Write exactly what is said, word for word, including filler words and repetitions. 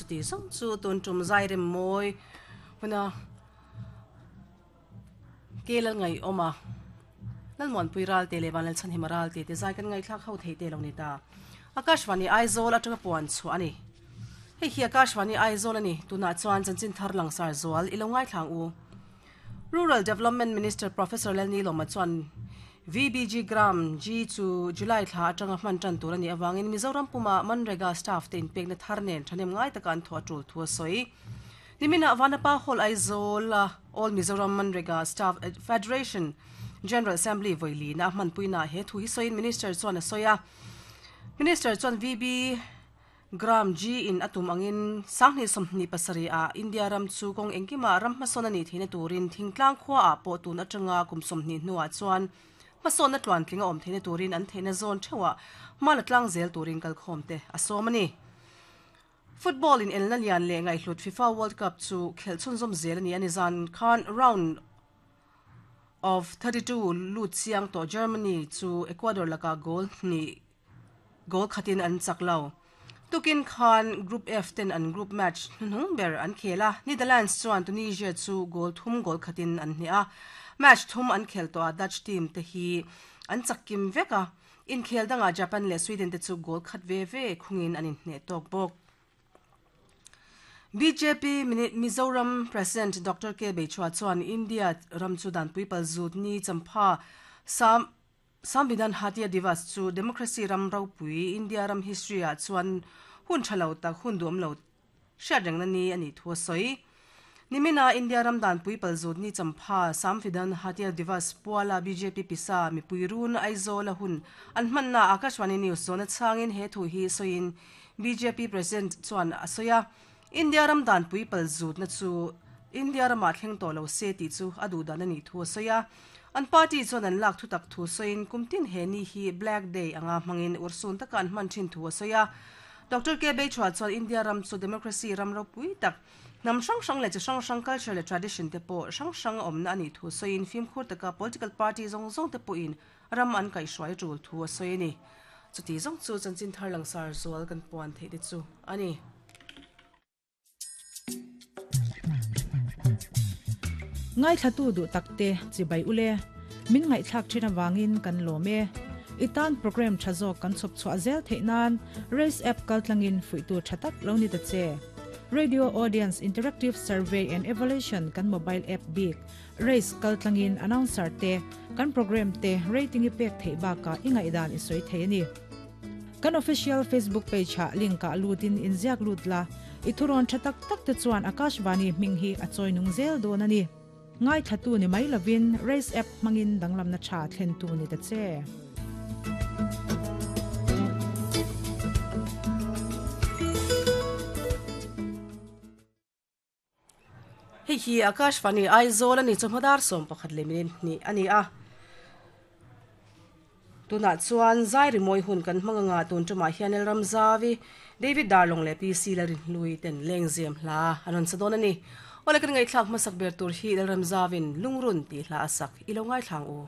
Chuti zawng chu tun tum zai rem mawi huna ke lal ngai awma lalmuan pui ral te le van lal chan hima ral te te zai kan ngai thlak ho thei te lo ni ta. Akashvani Aizawl atanga puan chu ani. Hei hi Akashvani Aizawl ani. Tuna chuan chanchin thar langsar zual ilo ngai thlang u. Rural Development Minister Professor Lalnilawma chuan V B G Gram G chu July thla atanga hman tan tur ani awangin Mizoram puma Manrega staff te inpekna thar nen thanem ngai taka an thaw tul thu a sawi. Nimina Vanapa Hall Aizawl All Mizoram Manrega Staff Federation General Assembly voili na hman puina he thu hi soin Minister chuan a soya. Minister chuan V B Gram G in atum angin sangni somni pasari a India ram chu kong engkima ram hmasawn ani theina turin thingtlang khua a pawh tun atanga kum somni hnuah chuan hmasawn na tluan tlinga awm theina turin an theina zawn thewa mala tlang zel turin kalkhawm te a sawm ani. Football in elna lian le ngai hlut FIFA World Cup chu khelchun zawm zel ani ani zan khan round of thirty-two lut chiang to Germany chu Ecuador laka goal ni goal khatin an chaklo. Tukin khan Group F ten an group match hnung ber an khela. Netherlands chuan Tunisia chu goal thum goal khatin an hnia. Match thum an khel to a Dutch team te hi an chakkim veka. In khel danga Japan le Sweden te chu goal khat ve ve khungin an in hne tok bok. B J P Mizoram President Doctor K Beichua chuan India ram chu dan puipal zut ni champha sam Samvidhan Hatia Divas chu democracy ram ropui India ram history a chuan hun thalo tak hun duam lo hriat reng na ni ani thu soi. Nimina India ram dan puipal zut ni champha Samvidhan Hatia Divas puala B J P pisa mi puirun Aizawl hun an hmanna Akashvani News zona changin he thu hi soin B J P President chuan asoya. India ram dan puipal zut na chu India rama thleng to lo se ti chu adu dan ani thu soya. An party chuan an lak thu tak thu soin kumtin he ni hi Black Day anga mangin ursun taka an hman thin thu soya. Doctor K Beichua chuan India ram chu democracy ram ropui tak nam hrang hrang le chi hrang hrang culture le tradition te pawh hrang hrang awmna ani thu soin fimkhur taka political party zawng zawng te pawhin ram an kaihhruai tul thu a sawi ani. Chuti zawng chu chanchin thar langsar zual kan puan thei te chu ani. Ngai thatu du takte chibai ule min ngai thak thina wangin kan lome itan program thazo kan chop chwa zel theinan race app kaltlangin fuitu thatak loni ta che radio audience interactive survey and evaluation kan mobile app big race kaltlangin announcer te kan program te rating i pek thei ba ka ingai dan i soi thei ni kan official Facebook page ha link ka lutin inziak lutla ithuron thatak tak te chuan Akashvani minghi achoi nung zel don ani ngai thatu ni mai lovin race app mangin danglam na tha thlen tu ni ta che. Hei hi Akashvani Aizawl ani chawhmadar sawm pakhat leh minute hnih ani a. Tuna chuan zai rimawi hun kan hmanga tun tumah hian El Ramzavi David Darlong le P C Lalrin Hlui ten lengzem hla an rawn sa dawn ani. Awle kan ngai thlak hmasak ber tur hi El Ramzavin lungrun ti hla a sak ilo ngai thlang u.